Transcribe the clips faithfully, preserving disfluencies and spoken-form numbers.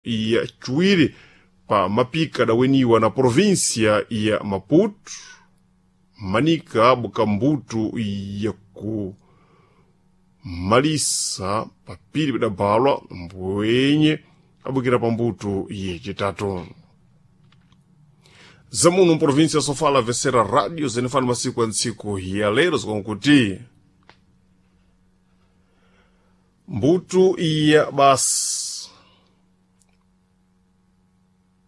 ya chiwiri pa mapika adaweniwa na provinsia ya Maputo, manika bukambutu ya kumalisa papiri pidabalwa mbwenye abukira pambuto yecitatu. Zamuno mprovinsia Sofala vesera radio zenefana masiku ya ntsiku ya lero zikonkuti mbutu ya basi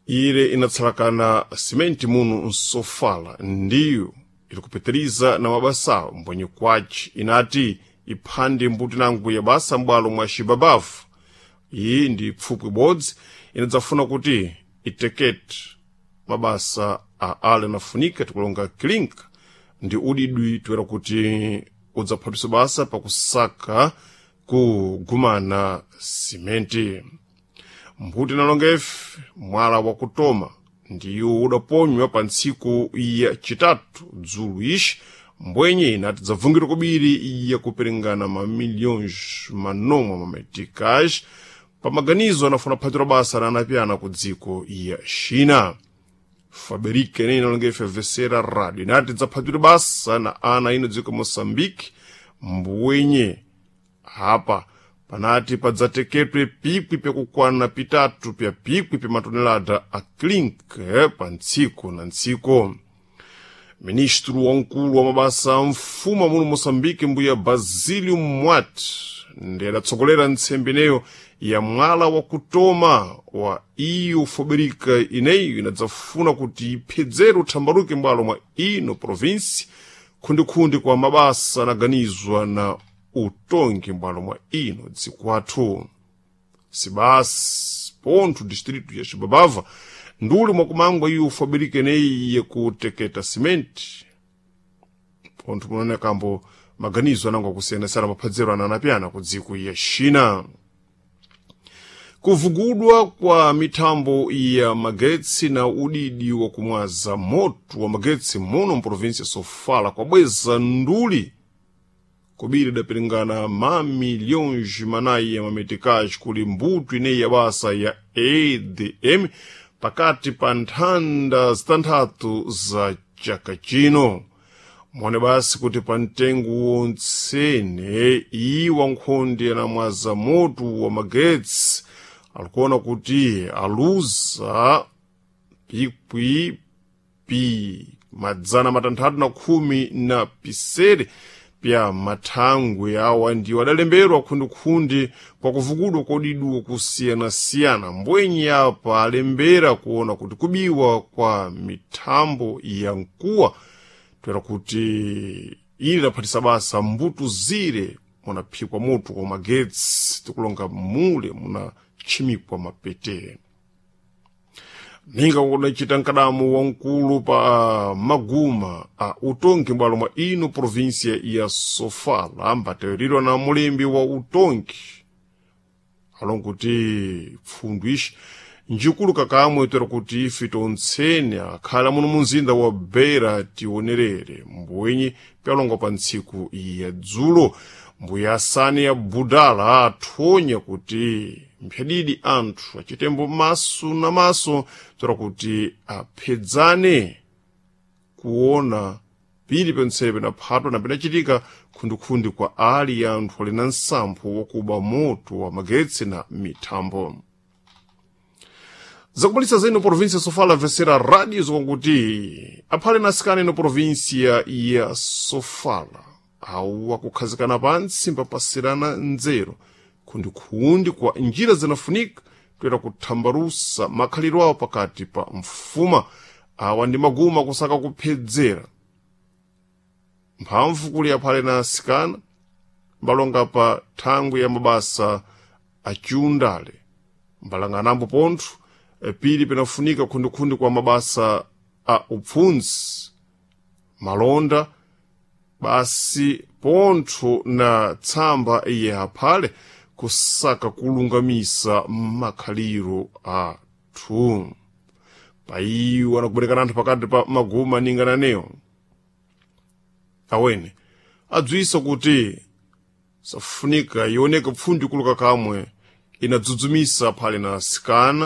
ile inatsalakana simenti munu nsofala ndiyo ilikupitiriza na mabasa mbwenye kwaci inati iphande mbuto inango ya basa m'bwalo mwa xibabavu. Iyi ndi pfupwi ibodzi inadzafuna kuti itekete mabasa a ale anafunika tikulonga kilinka ndi udidwi toera kuti udzaphatwisa basa pakusaka kugumana simenti. Mbuto inalonga ife mwala wakutoma ndiyo udaponywa pa ntsiku ya citatu dzulu ixi mbwenye inati dzabvungidwa kubiri ya kuperingana mamilhões manomwe mameticais pa maganizo anafuna kuphatira basa na anapiyana ku dziko ya China. Faberike ine inalonga ife vesera radio inati dzaphatira basa na ana ino dziko Moçambique mbwenye apa panati padzateketwe pikwi pyakukwana pitatu pya pikwi pya matonelada a klink pa ntsiku na ntsiku. Ministro wamkulu wa mabasa a mfumu muno Moçambique mbuya Basílio Mwat ndi adatsogolera ntsembe ineyo ya mwala wakutoma wa iyo Foberika ineyo inadzafuna kuti iphedzere uthambaruke m'bwalo mwa ino provinsi khundikhundi kwa mabasa anaganizwa na utongi m'bwalo mwa ino dziko athu. Sibasi pontho distrito ya Xibabava nduli mwakumangwa iyo Foberika ineyi yakuteketa simenti pontho munaonekambo maganizo anango akusiyanasiyana maphadzero ananapyana ku dziko ya China. Kuvugudwa kwa mithambo ya magetsi na udidi wa kumwaza moto wa magetsi muno mprovinsi ya Sofala kwabweza nduli kubiri idapiringana mamilhões manayi ya mameticais kuli mbuto ineyi ya basa ya A D M pakati pa nthanda zitanthatu za chaka chino. Mone basi kuti pa mtengo wontsene iwa nkhondi anamwaza moto wa magetsi alikuona kuti aluza pikwi pi madzana matanthatu na khumi na pisere pya mathangwe awa ndiwo adalemberwa khundikhundi kwa kuvukudwa kodiduwa kusiyanasiyana. Mbwenye apa alembera kuona kuti kubiwa kwa mithambo ya mkuwa toera kuti ili laphatisa basa mbuto zire munaphikwa moto kwa magetsi tikulonga mule munatchimikwa mapete. Ninga kudacita mkadamo wamkulu pa maguma a utongi m'bwalo mwa ino provinsia ya Sofala ambateweredwa na mulembi wa utongi alonga kuti pfundu ixi njikulu kakamwe toera kuti ife tontsene akhala muno munzinda wa Beira tionerere mbwenye pyalongwa pa ntsiku ya dzulo. Mbuya asani ya Budala athonya kuti mphyadidi anthu achitembo maso na maso toera kuti aphedzane kuona pili pentsere penaphatwa na penachitika khundikhundi kwa ali ya anthu ali na nsampho wakuba moto wa magetsi na mithambo. Zakumalisa zino provinsia Sofala vesera radio zikonkuti aphale na asikana ino provinsia ya Sofala awu akukhazikana pantsi mpapasirana nzeru khundikhundi kwa njira zinafunika toera kuthambarusa makhaliro awo pakati pa mfuma. Awa ndi maguma kusaka kuphedzera mphamvu kuli aphale na asikana mbalonga pa thangwi ya mabasa aciundale mbalanganambo pontho pili pinafunika khundikhundi kwa mabasa a upfundzi malonda basi pontho na tsamba ya aphale kusaka kulungamisa makhaliro athu. Paiwo anakuberekana anthu pakati pa maguma ningananeyo awene adzwisa kuti safunika ioneke pfundi kuluka kamwe inadzudzumisa aphale na asikana.